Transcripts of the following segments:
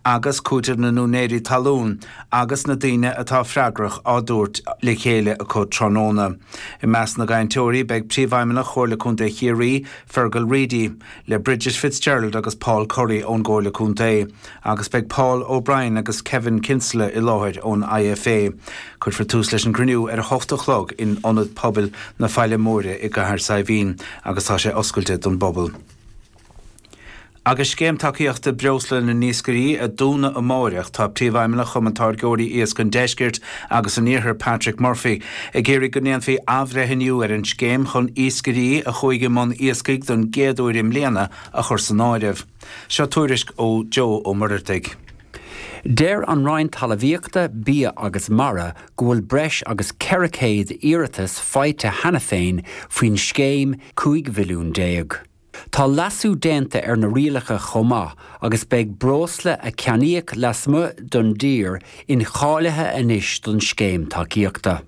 Agus cúiteamh na n-úinéirí talún agus na daoine atá freagrach á dtabhairt le chéile acu tráthnóna. I measc na gcainteoirí beidh Príomhfheidhmeannach Chomhairle Contae Chiarraí, Fergal Reidy, le Bridget Fitzgerald agus Paul Curry ón gComhairle Contae, agus beidh Paul O'Brien agus Kevin Kinsella i láthair ón IFA. Cuirfear tús leis an gcruinniú ar 8 a chlog in Ionad Pobail na Faille Móire i gCathair Saidhbhín agus tá sé oscailte don bpobal. Agus scéim tacaíochta breosla na n-iascairí a dúnadh amáireach, tá Príomhfheidhmeannach Chumann Táirgeoirí Iasc an Deiscirt agus an Iarthair, Patrick Murphy, ag iarraidh go ndéanfaí athbhreithniú ar an scéim chun iascairí a chuaigh i mbun iascaigh don gcéad uair i mbliana a chur san áireamh. Seo tuairisc ó Joe Ó Muircheartaigh. Deir an Roinn Talmhaíochta, Bia agus Mara go bhfuil breis agus 400 iarratas faighte cheana féin faoin scéim 15 mhilliún. Tá leasú déanta ar na rialacha chomh maith agus beidh breosla a ceannaíodh lasmuigh den dtír incháilithe anois don scéim tacaíochta.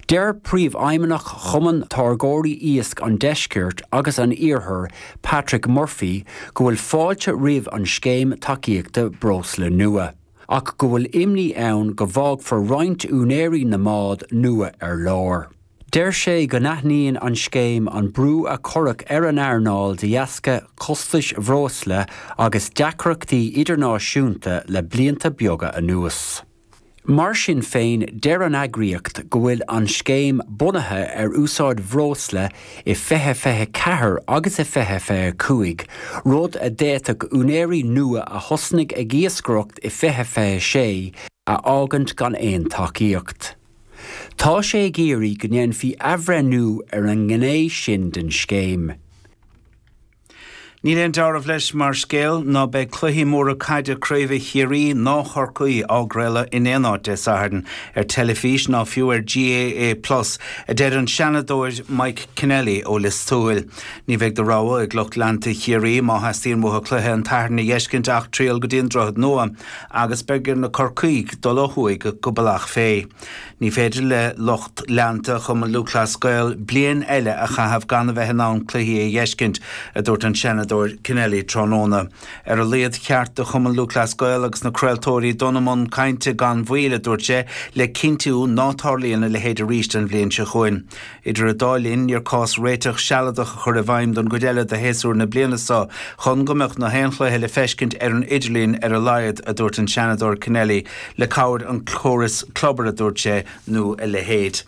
Deir Príomhfheidhmeannach Chumann Táirgeoirí Iasc an Deiscirt agus an Iarthair, Patrick Murphy, go bhfuil fáilte roimh an scéim tacaíochta breosla nua, ach go bhfuil imní ann go bhfágfar roinnt úinéirí na mbád nua ar lár. Deir sé go n-aithníonn an scéim an brú a cuireadh ar an earnáil de dheasca costais bhreosla agus deacrachtaí idirnáisiúnta le blianta beaga anuas. Mar sin féin, deir an eagraíocht go bhfuil an scéim bunaithe ar úsáid bhreosla i 2024 agus i 2025, rud a d'fhéadfadh úinéirí nua a thosnaigh ag iascaireacht i 2026 a fhágaint gan aon tacaíocht. Tá sé ag iarraidh go ndéanfaí athbhreithniú ar an ngné sin den scéim. Níl aon dealramh leis mar scéal ná beidh cluichí móra caide craoibhe Chiarraí ná Chorcaí á gcraoladh in aon áit Dé Sathairn, ar teilifís ná fiú ar GAA Plus, a deir an Seanadóir Mike Kennelly ó Lios Tuathail. Ní bheidh de rogha ag lucht leanta Chiarraí má theastaíonn uathu cluiche an tSathairn a dh'fheiscint ach triall go dtí an Droichead Nua agus beidh ar na Corcaígh dul ó thuaidh go Bealach Féich. Ní féidir le lucht leanta Chumann Lúthchleas Gael bliain eile a chaitheamh gan a bheith in ann cluichí a dh'fheiscint, a dúirt an Seanadóir Kennelly tráthnóna. Ar a laghad cheart do Chumann Lúthchleas Gael agus na craoltóirí dul i mbun cainte gan mhoill, a dúirt sé, le cinntiú ná tarlaíonn a leithéid arís an bhliain seo chugainn. Idir an dá linn, níor cás réiteach sealadach a chur i bhfeidhm don gcuid eile de shéasúr na bliana seo chun go mbeadh na haon chluiche le feiscint ar an idirlíon ar a laghad, a dúirt an Seanadóir Kennelly, le cabhair an chórais Clubber, a dúirt sé, nó a leithéid.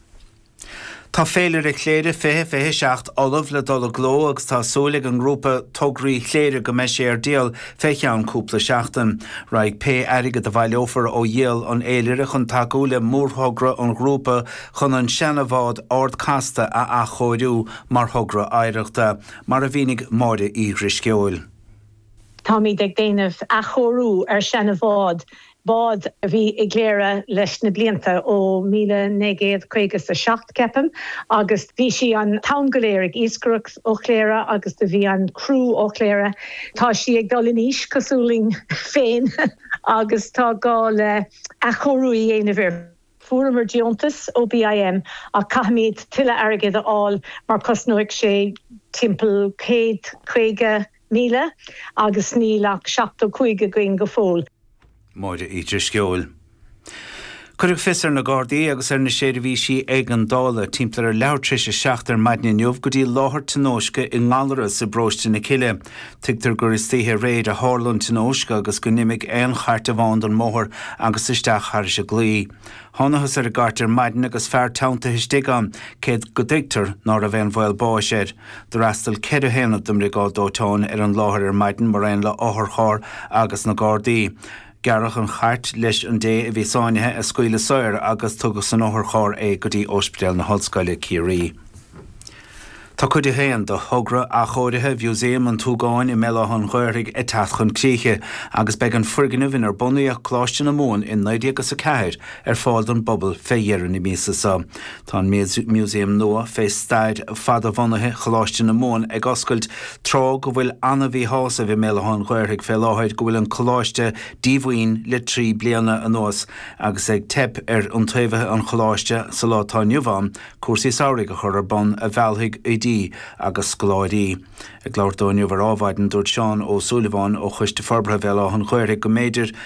Tá Féilire Chléire 2027 ullamh le dul i gcló agus tá súil ag an ngrúpa Tograí Chléire go mbeidh sé ar díol fé cheann cúpla seachtain. Raghaidh pé airgead a bhaileofar ó dhíol an fhéilire chun tacú le mórthogra an ghrúpa chun an seana-bhád Ard Casta a athchóiriú mar thogra oidhreachta, mar a mhínigh Máire Uí Dhrisceoil. Táimid ag déanamh athchóiriú ar seana-bhád, bád a bhí i gCléire leis na blianta, ó 1957 ceapaim, agus bhí sí an t-am go léir ag iascaireacht ó Chléire agus do bhí an criú ó Chléire. Tá sí ag dul in aois cosúil linn féin agus tá gá le athchóiriú a dhéanamh uirthi. Fuaireamar deontas ó BIM ach caithfimid tuilleadh airgid a fháil mar cosnóidh sé timpeall 150,000 agus níl ach 75 againn go fóill. Máire Uí Drisceoil. Cuireadh fios ar na Gardaí agus ar na seirbhísí éigeandála timpeall ar leathuair tar éis a 7 ar maidin inniu go dtí láthair tionóisce i nGallarus i bparóiste na Cille. Tuigtear gur istoíche aréir a tharla an tionóisc agus go n-imigh aon chairt amháin den mbóthar agus isteach thairis an gclaí. Thánathas ar an gcairt ar maidin agus fear teanntaithe istigh ann, cé go dtuigtear ná raibh aon bhaol báis air. D'fhreastail 4 haonad den mBriogáid Dóiteáin ar an láthair ar maidin mar aon le otharcharr agus na Gardaí. Gearradh an chairt leis an dté a bhí sáinnithe a scaoileadh saor agus tugadh san otharcharr é go dtí Ospidéal na hOllscoile, Ciarraí. Tá cuid a haon de thogra athchóirithe Mhúsaem an tSúgáin i mBéal Átha an Ghaorthaidh ag teacht chun críche agus beidh an foirgneamh inar bunaíodh Coláiste na Mumhan i 1904 ar fáil don bpobal fé dheireadh na míosa seo. Tá an músaem nua fé stair fada-bhunaithe Choláiste na Mumhan ag oscailt tráth go bhfuil ana-mhíshásamh i mBéal Átha an Ghaorthaidh fé láthair go bhfuil an coláiste díomhaoin le 3 bliana anuas agus ag teip ar iontaobhaithe an choláiste sa lá atá inniu ann cúrsaí samhraidh a chur ar bun a mheallfaidh oidí. oidí agus scoláirí. Ag labhairt dó inniu ar Ádhmhaidin, dúirt Seán Ó Súilleabháin ó Choiste Forbartha Bhéal Átha an Ghaorthaidh go mb'fhéidir go.